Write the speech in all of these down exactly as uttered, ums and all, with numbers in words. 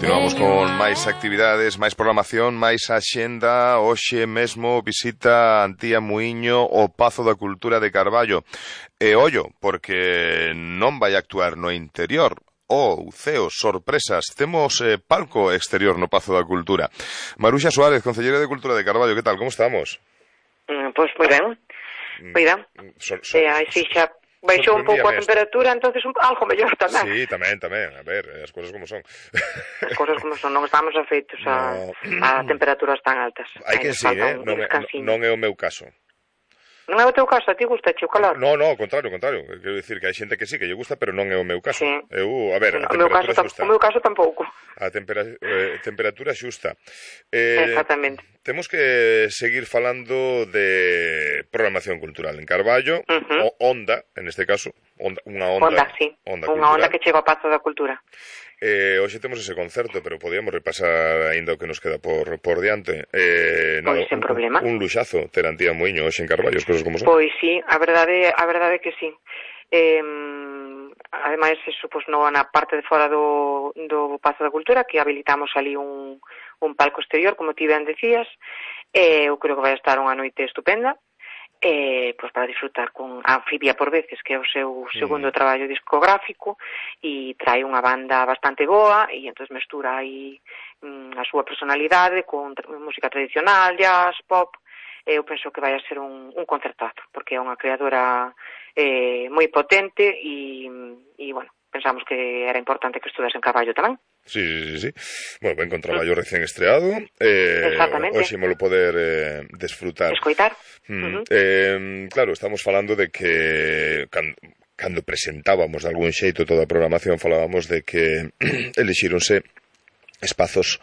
Continuamos con máis actividades, máis programación, máis axenda. Hoxe mesmo visita Antía Muíño o Pazo da Cultura de Carballo. E ollo, porque non vai actuar no interior. Oh, ceo, sorpresas. Temos eh, palco exterior no Pazo da Cultura. Maruxa Suárez, concelleira de Cultura de Carballo, que tal? Como estamos? Mm, pois moi ben. Moi ben. So, so, eh, así xa baixou un pouco a temperatura, entonces un, algo mellor tamén. Sí, tamén, tamén. A ver, as cousas como son. As cousas como son, non estamos afeitos a, no. a temperaturas tan altas. Hai que sí, eh? Non, non é o meu caso. Non é o teu caso? A ti gusta o calor? No, no, ao contrario, ao contrario. Quero dicir que hai xente que sí, que lle gusta, pero non é o meu caso. Sí. Eu, a ver, a o meu temperatura caso, xusta. O meu caso tampouco. A tempera, eh, temperatura xusta. Eh, Exactamente. Temos que seguir falando de programación cultural en Carballo, uh -huh. o Onda, en este caso, onda, unha onda, onda, sí. onda unha cultural. onda que chega ao Pazo da Cultura. Eh, hoxe temos ese concerto, pero podíamos repasar aínda o que nos queda por, por diante. Eh, pois, sen problema. Un, un luxazo ter Antía Muíño hoxe en Carballo, as cousas como son. Pois sí, a verdade, a verdade é que sí. Eh, ademais, eso, pois, no, na parte de fora do, do Pazo da Cultura, que habilitamos ali un, un palco exterior, como ti ben decías, eh, eu creo que vai estar unha noite estupenda. Eh, pues para disfrutar con Anfibia por veces, que é o seu segundo mm. traballo discográfico, e trae unha banda bastante boa e entón mestura aí mm, a súa personalidade con tra música tradicional, jazz, pop. Eu penso que vai a ser un, un concertazo, porque é unha creadora eh, moi potente e, e bueno, pensamos que era importante que estudas en Carballo tamén. Sí, sí, sí. Bueno, ben con traballo recén estreado. Eh, Exactamente. Hoxe molo poder eh, desfrutar. Escoitar. Mm, uh -huh. eh, claro, estamos falando de que cando, cando presentábamos de algún xeito toda a programación, falábamos de que elixíronse espazos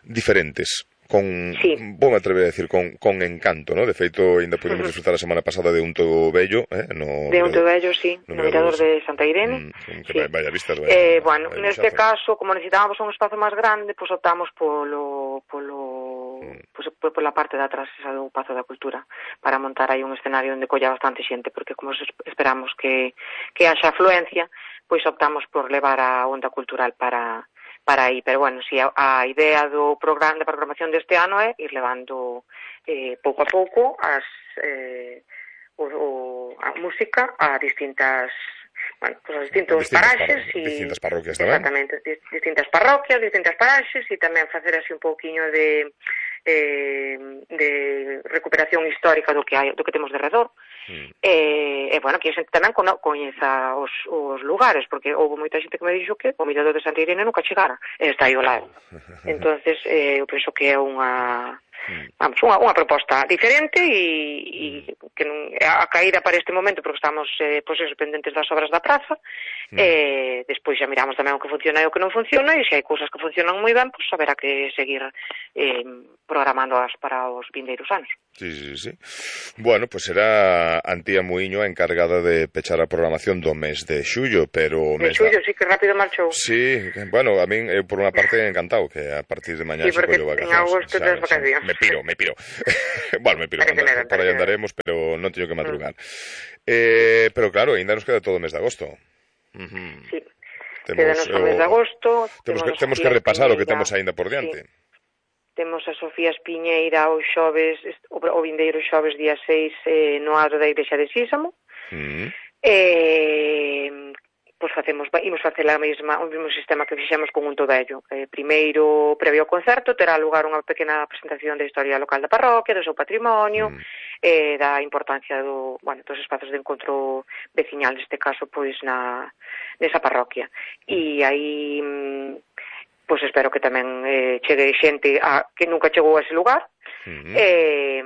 diferentes. Con, sí. vou me atrever a decir, con, con encanto, ¿no? De feito, ainda pudemos uh -huh. disfrutar a semana pasada de Unto Bello, eh? No, de Unto Bello, sí, no, no mirador de Santa Irene. Mm, sí. Vaya vistas, vaya, eh, bueno, vaya neste caso, como necesitábamos un espazo máis grande, pois pues optamos polo, polo, mm. pues, pola parte de atrás esa do Pazo da Cultura, para montar aí un escenario onde colla bastante xente, porque como esperamos que, que haxa afluencia, pois optamos por levar a onda cultural para... para aí, pero bueno, si a, a idea do programa de programación deste ano é ir levando eh, pouco a pouco as eh, o, o, a música a distintas, bueno, pues a distintos distintas paraxes par e distintas parroquias tamén. Exactamente, distintas parroquias, distintas paraxes e tamén facer así un pouquiño de eh, de recuperación histórica do que hai, do que temos de redor. Mm. E, e, bueno, que a xente tamén coñeza os, os lugares, porque houve moita xente que me dixo que o mirador de Santa Irene nunca chegara, e está aí ao lado. Entonces, eh, eu penso que é unha, vamos, unha, unha proposta diferente e, e que non, a caída para este momento, porque estamos eh, pois, pendentes das obras da praza, mm. e despois xa miramos tamén o que funciona e o que non funciona, e se hai cousas que funcionan moi ben, pois haberá que seguir eh, programándoas para os vindeiros anos. Sí, sí, sí. Bueno, pues será Antía Muíño a encargada de pechar a programación do mes de xullo, pero... De xullo, da... sí, que rápido marchou. Sí, bueno, a min, eu por unha parte encantado, que a partir de mañá sí, se collo vacacións. Sí, porque en agosto tens vacacións. Me piro, me piro. Bueno, me piro, andar, por aí andaremos, pero non teño que madrugar. Mm. Eh, pero claro, ainda nos queda todo o mes de agosto. Uh -huh. Sí, temos, quedanos o mes de agosto. Temos que, temos que repasar o que temos aínda por diante. Sí. Temos a Sofía Espiñeira o xoves, o, o vindeiro xoves día seis eh, no adro da Igrexa de Sísamo. Mm. Eh, pois facemos, imos facer a mesma, o mesmo sistema que fixemos con Unto Bello. Eh, primeiro, previo ao concerto, terá lugar unha pequena presentación da historia local da parroquia, do seu patrimonio, mm. eh, da importancia do, bueno, dos espazos de encontro veciñal, neste caso, pois na nesa parroquia. E aí... Mm, pois espero que tamén eh, chegue xente a, que nunca chegou a ese lugar, uh -huh. e,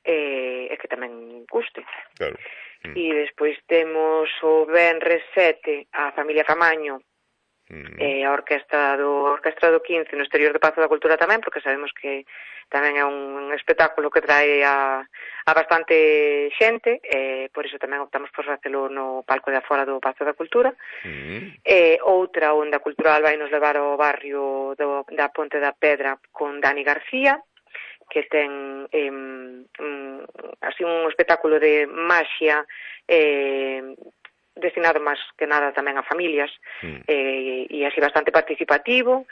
e, e que tamén guste. Claro. Uh -huh. E despois temos o venres sete a familia Camaño, uh -huh. e a orquestra do, a orquestra do quince no exterior do Pazo da Cultura tamén, porque sabemos que tamén é un espectáculo que trae a, a bastante xente, e por iso tamén optamos por facelo no palco de afora do Pazo da Cultura. Uh -huh. E outra onda cultural vai nos levar ao barrio do, da Ponte da Pedra con Dani García, que ten eh, um, así un espectáculo de maxia eh, destinado máis que nada tamén a familias, mm. eh, e así bastante participativo.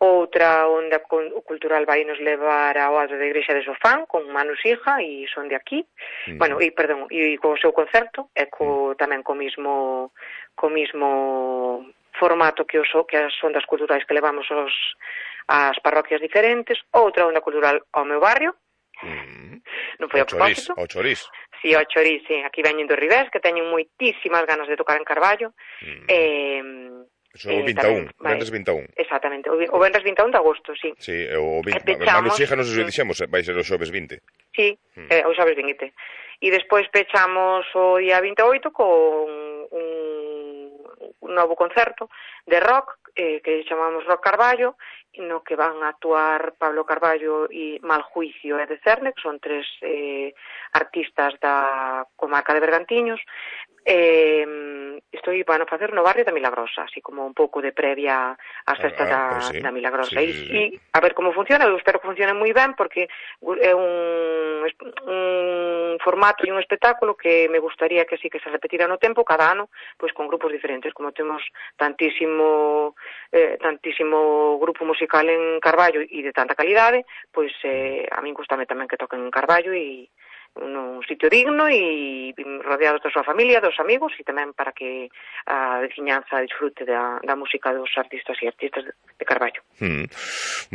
Outra onda cultural vai nos levar ao Adro da Igrexa de Sofán con Manu Sija e son de aquí, mm. bueno, e perdón, e co seu concerto e co, mm. tamén co mismo co mismo formato que os que as ondas culturais que levamos os as parroquias diferentes. Outra onda cultural ao meu barrio, mm. non foi a propósito. O Chorís. Si, sí, o Chorís, sí. Aquí veñen do Ribés, que teñen moitísimas ganas de tocar en Carballo. Mm. Eh, Eso é o vinte e un, o Venres vinte e un. Exactamente, o Venres vinte e un de agosto, sí. Sí, o vinte. Manu Sija, non sei se o dixemos, vai ser o xoves vinte. Sí, mm. eh, o xoves vinte. E despois pechamos o día vinte e oito con un, un novo concerto de rock, eh, que chamamos Rock Carballo, no que van a actuar Pablo Carballo e Maljuicio e de Cerne, que son tres eh, artistas da comarca de Bergantiños. Eh, estou van a facer no barrio da Milagrosa, así como un pouco de previa ás festas ah, da, sí. da Milagrosa. Sí, e, sí. e a ver como funciona, eu espero que funcione moi ben, porque é un, un formato e un espectáculo que me gustaría que sí que se repetira no tempo, cada ano, pois con grupos diferentes, como temos tantísimo eh, tantísimo grupo musical en Carballo e de tanta calidade, pois eh, a min gustame tamén que toquen en Carballo e un sitio digno e rodeados da súa familia, dos amigos, e tamén para que a veciñanza disfrute da, da música dos artistas e artistas de Carballo. Mm.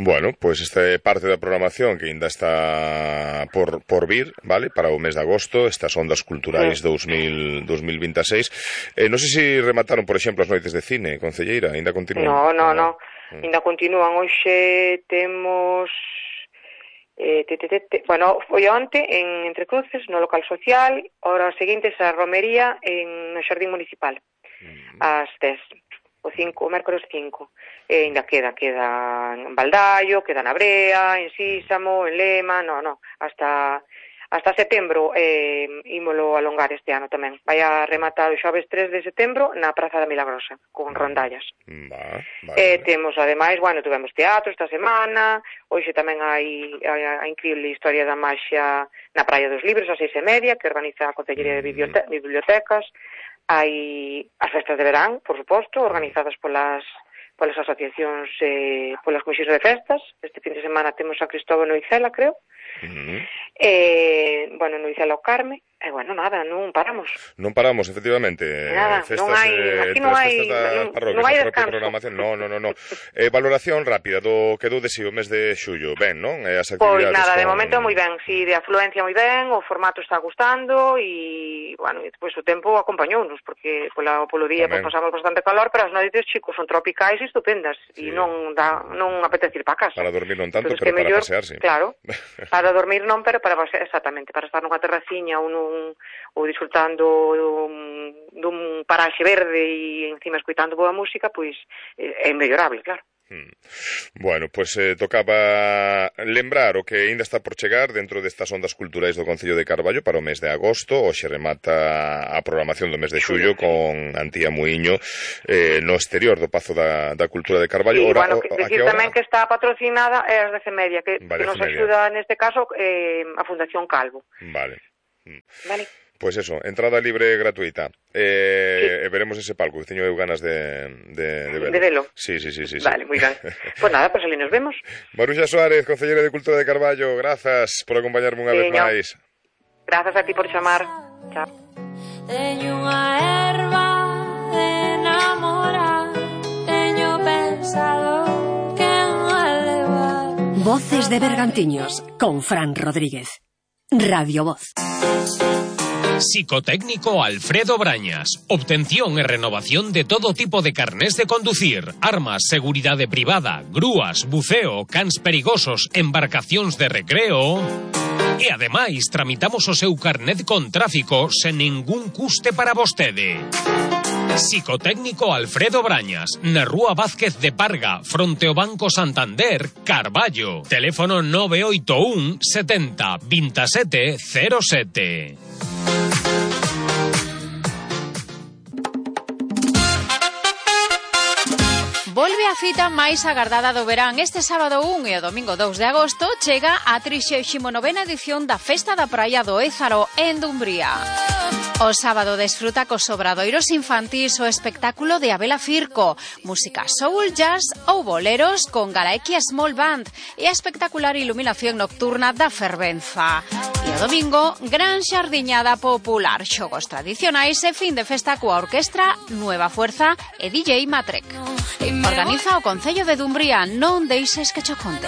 Bueno, pois pues esta é parte da programación que ainda está por, por vir, vale, para o mes de agosto, estas ondas culturais sí. dos mil vinte e seis. Eh, non sei se remataron, por exemplo, as noites de cine, concelleira, ainda continúan? No, no, no, mm. ainda continúan. Hoxe temos... Eh, te, te, te, te. Bueno, foi onte en Entre Cruces, no local social, horas seguintes a romería en no Xardín Municipal, mm. ás dez, o cinco, o mércores cinco. E ainda queda, queda en Baldallo, queda na Brea, en Sísamo, en Lema, no, no, hasta hasta setembro eh, ímolo alongar este ano tamén. Vai a rematar o xoves tres de setembro na Praza da Milagrosa, con rondallas. Va, va, eh, temos, ademais, bueno, tuvemos teatro esta semana, hoxe tamén hai a, a increíble historia da maxia na Praia dos Libros, a seis e media, que organiza a Concellería de Bibliote- Bibliotecas. Hai as festas de verán, por suposto, organizadas polas polas asociacións, eh, polas comisións de festas. Este fin de semana temos a Cristóbal Noicela, creo. Uh-huh. Eh, bueno, Noicela o Carme. E, eh, bueno, nada, non paramos. Non paramos, efectivamente. Nada, festas, non hai, eh, aquí non hai, non, non hai descanso. Programación. No, no, no, no. Eh, valoración rápida do que dou de si o mes de xullo. Ben, non? Eh, as actividades pois nada, con... de momento moi ben. Si, de afluencia moi ben, o formato está gustando e, bueno, e despois o tempo acompañounos, porque pola, polo día pues, pasamos bastante calor, pero as noites, chicos, son tropicais e estupendas. E sí. non dá, non apetece ir para casa. Para dormir non tanto, pero para mellor, pasearse. Claro, para dormir non, pero para pasear, exactamente, para estar nunha terraciña ou nun ou disfrutando dun, dun paraxe verde e encima escoitando boa música, pois é mellorable, claro. Hmm. Bueno, pois pues, eh, tocaba lembrar o que ainda está por chegar dentro destas ondas culturais do Concello de Carballo para o mes de agosto. Hoxe remata a programación do mes de xullo con Antía Muiño eh, no exterior do Pazo da, da Cultura de Carballo. Sí, Ora, bueno, que, decir tamén que está patrocinada é as dez e media, que, vale, que nos axuda neste caso eh, a Fundación Calvo. Vale. Hmm. Vale. Pois pues eso, entrada libre e gratuita. Eh, sí. E veremos ese palco, que teño eu ganas de, de, de verlo. De velo. Sí, sí, sí, sí. Vale, moi ben. Pois pues nada, pois pues ali nos vemos. Maruxa Suárez, Concelleira de Cultura de Carballo, grazas por acompañarme unha vez máis. Grazas a ti por chamar. Chao. Teño unha erva de enamorar, teño pensado que non levar. Voces de Bergantiños, con Fran Rodríguez. Radio Voz. Psicotécnico Alfredo Brañas. Obtención e renovación de todo tipo de carnés de conducir, armas, seguridade privada, grúas, buceo, cans perigosos, embarcacións de recreo. E ademais tramitamos o seu carnet con tráfico sen ningún custe para vostede. Psicotécnico Alfredo Brañas, na Rúa Vázquez de Parga, fronte ao Banco Santander, Carballo. Teléfono nove oito un setenta veintisiete cero sete. Volve a cita máis agardada do verán. Este sábado un e o domingo dous de agosto chega a trixésima novena edición da Festa da Praia do Ézaro en Dumbría. O sábado desfruta cos obradoiros infantís o espectáculo de Abela Firco, música soul, jazz ou boleros con Galaequia Small Band e a espectacular iluminación nocturna da Fervenza. E o domingo, gran xardiñada popular, xogos tradicionais e fin de festa coa orquestra Nueva Fuerza e D J Matrek. Organiza o Concello de Dumbría, non deixes que cho conte.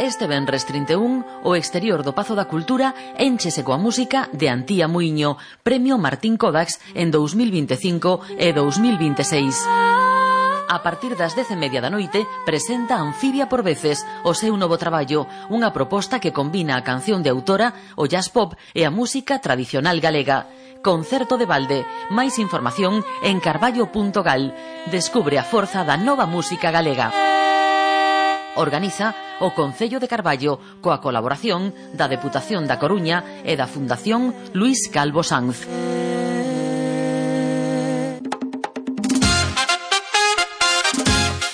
Este venres trinta e un, o exterior do Pazo da Cultura énchese coa música de Antía Muiño, Premio Martín Kodax en dous mil vinte e cinco e dous mil vinte e seis. A partir das dez e media da noite presenta Anfibia por veces, o seu novo traballo, unha proposta que combina a canción de autora, o jazz pop e a música tradicional galega. Concerto de balde. Máis información en carballo punto gal. Descubre a forza da nova música galega. Organiza o Concello de Carballo coa colaboración da Deputación da Coruña e da Fundación Luís Calvo Sanz.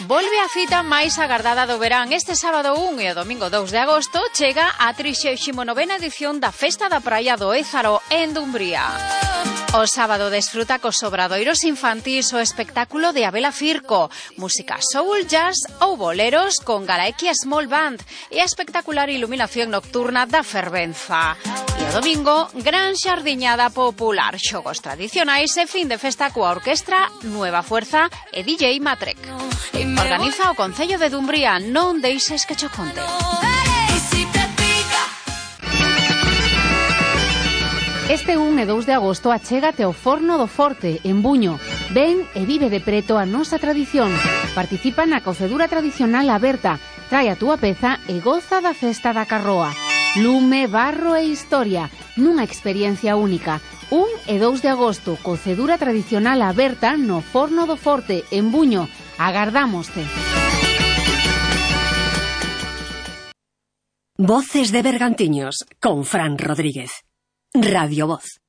Volve a cita máis agardada do verán. Este sábado un e o domingo dous de agosto chega a trixésima novena edición da Festa da Praia do Ézaro en Dumbría. O sábado desfruta cos obradoiros infantís o espectáculo de Abela Firco, música soul, jazz ou boleros con Galaequia Small Band e a espectacular iluminación nocturna da Fervenza. E o domingo, gran xardiñada popular, xogos tradicionais e fin de festa coa orquestra Nueva Fuerza e D J Matrek. Organiza o Concello de Dumbría, non deixes que cho conte. Este un e dous de agosto achégate ao Forno do Forte, en Buño. Ven e vive de preto a nosa tradición. Participa na cocedura tradicional aberta. Trae a túa peza e goza da festa da carroa. Lume, barro e historia, nunha experiencia única. un e dous de agosto, cocedura tradicional aberta no Forno do Forte, en Buño. Agardámoste. Voces de Bergantiños, con Fran Rodríguez. Radio Voz.